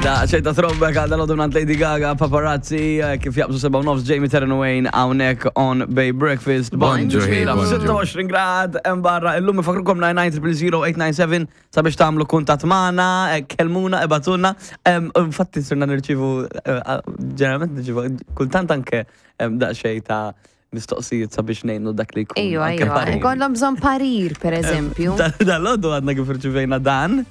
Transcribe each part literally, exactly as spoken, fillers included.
Da, xejta throwback għal dal minn Lady Gaga, Paparazzi, eh, kif jaqbżu seba' u nofs, Jamie Terran Wayne, hawnhekk on Bay Breakfast. Bonġu, hey, Bonġu. Bonġu. sitta u għoxrin grad, hemm barra, illum ifakrukom nine nine zero zero eight nine seven sabiex tagħmlu kuntatt magħna, eh, kellmuna, ibagħtulna. Em, Infatti sirna nirċivu, eh, ġeneralment nirċivu, kultant anke em, daqsxejn ta' mistoqsijiet sabiex ngħinu dak li jkun. Ejwa, anke ejwa. parir. Kollhom bżonn parir, per eżempju. Dal-għodu għadna kif irċivejna dan,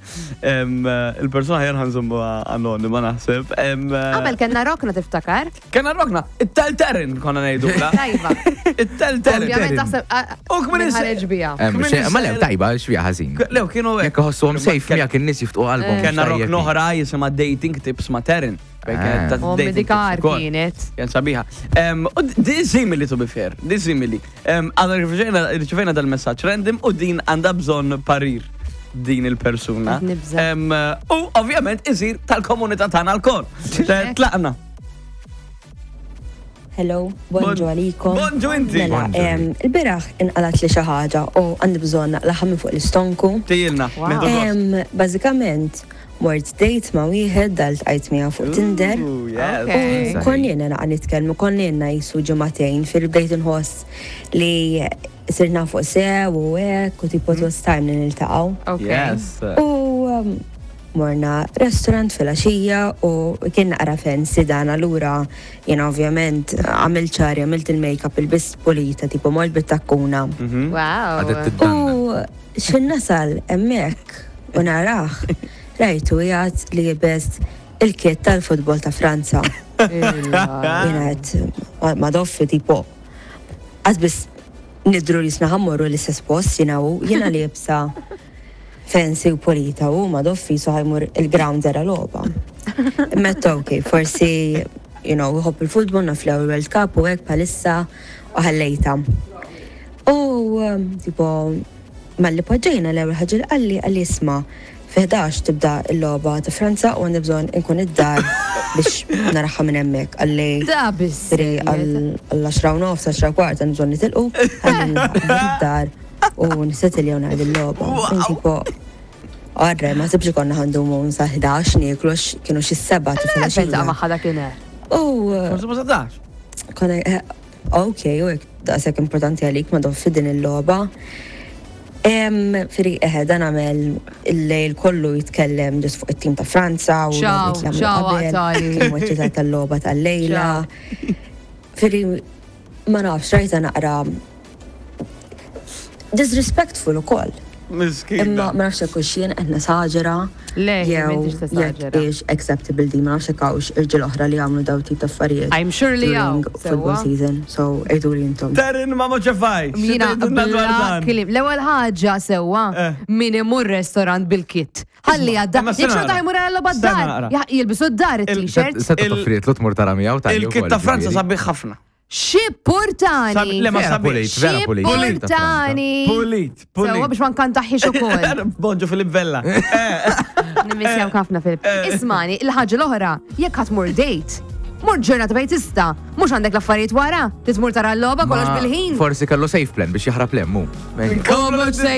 em, il-persona ħjar ħa nżommu anonima naħseb. Em, Qabel kellna rokna, tiftakar? Kellna rokna, it-tel-terin konna ngħidu. Tajba. It-tel-terin. Ovvjament taħseb ah, U kmin min is- ħareġ bija. Em, Kmin xe- Ma le, is- tajba, xvija ħażin. Lew, kienu hekk. Jekk iħossuhom safe miegħek, in-nies jiftqu qalbhom. Kellna Tajjeb. rokna oħra jisimha Dating Tips ma' Terin. Fejn kienet ta' U dating medikar tips ukoll. kienet. Kien sabiħa. Em, U di simili, to be fair, di simili. Em, Għadna rċivejna rċivejna dal-messaġġ random u din għandha bżonn parir din il-persuna. Qed nibża'. Em, U ovvjament isir tal-komunità tagħna lkoll. Tlaqna. Hello, bonġu Bon- għalikom. Bonġu inti. Mela, Bonġu. em, il-bieraħ inqalat li xi ħaġa u għandi bżonn naqlaħa minn fuq l-istonku. Tijilna. Wow. Nieħdu gost. Em, Bażikament, mort date ma' wieħed dal ltqajt miegħu fuq Tinder. Ooh, yes. Okay. U konna ilna naqa nitkellmu, konna ilna qisu ġimagħtejn, fil bdejt inħoss li sirna fuq sew u hekk u tipo it was time li niltaqgħu. Ok. Yes. U um, morna restaurant fil-għaxija u kien naqra fancy dan, allura jena ovvjament għamilt xagħri, għamilt il-makeup, ilbist pulita, tipo mort bit-takkuna. Mhm. Wow. Għadet tiddanna. U xin nasal hemmhekk u narah, rajtu qiegħed liebes il-kit tal-futbol ta' Franza. Jena għedt ma doffi, tipo, għad bis nidru li sna ħa mmorru l-istess post jena u jena liebsa fancy u pulita u ma doffi so ħa jmur il-ground jara logħba. Metta ok, forsi, you know, iħobb il-futbol, naf li World Cup u hekk bħalissa, u ħallejta. U um, tipo, malli poġġejna, l-ewwel ħaġa li qalli qalli "Isma', fi ħdax tibda l-logħba ta' Franza u għandi bżonn inkun id-dar biex naraha minn hemmhekk." Qalli Da biss. Tri għall-għaxra u nofs, għaxra u kwart, għandi bżonn nitilqu, ħalli id-dar u nisetiljaw naqdi l-logħba. Tipo, Arre, ma sibx konna ħa ndumu sa ħdax nieklu għax kienu xi sebgħa ta' Fejn ta' filgħaxija. magħha dakinhar. U Forsi ma sadax. konna, eh, ok, u hekk daqshekk importanti għalik ma doffi din il-logħba. Em, Firi, eħe, dan għamel il-lejl kollu jitkellem just fuq it-tim ta' Franza u Ciao, l-logħbiet li għamlu ciao, qabel, għatali. kemm eċċitat tal-logħba tal-lejla. Firi, ma nafx, rajta naqra disrespectful ukoll. Miskina. Imma ma nafx jekk hux jien qed nesaġera Le, jew m'intix jekk tesaġera. hix acceptable di, ma nafx jekk hawnx irġiel oħra li jagħmlu daw tip ta' affarijiet I'm sure li during hawn, football sewwa. season, so għidu li intom. Terin ma moċefaj. Mina, bla kliem. L-ewwel ħaġa sewwa, Eh. min imur restaurant bil-kit. Ħalli għadda. Imma Jekk sena xorta naqra. jmur għal Sena d-dar. naqra. Ja- Jilbisu d-dar it-t-shirt. Seta Il- toffriet lu tmur tara miegħu tal Il-kit ta' Franza sabiħ ħafna. Xi portani. Sabi- le, ma Vera sabiħ. pulit, vera Xi pulit. portani. Pulit, Sewwa pulit. biex ma nkantaħħix ukoll. Bonġu Filip Vella. Eh, Nimmissjaw ħafna, Filip. Ismani, il-ħaġa l-oħra, jekk ħa tmur date, mur ġurnata fejn tista', mhux għandek l-affarijiet wara, titmur tara l-logħba kollox bil-ħin. Forsi kellu safe plan biex jaħrab lemmu. Come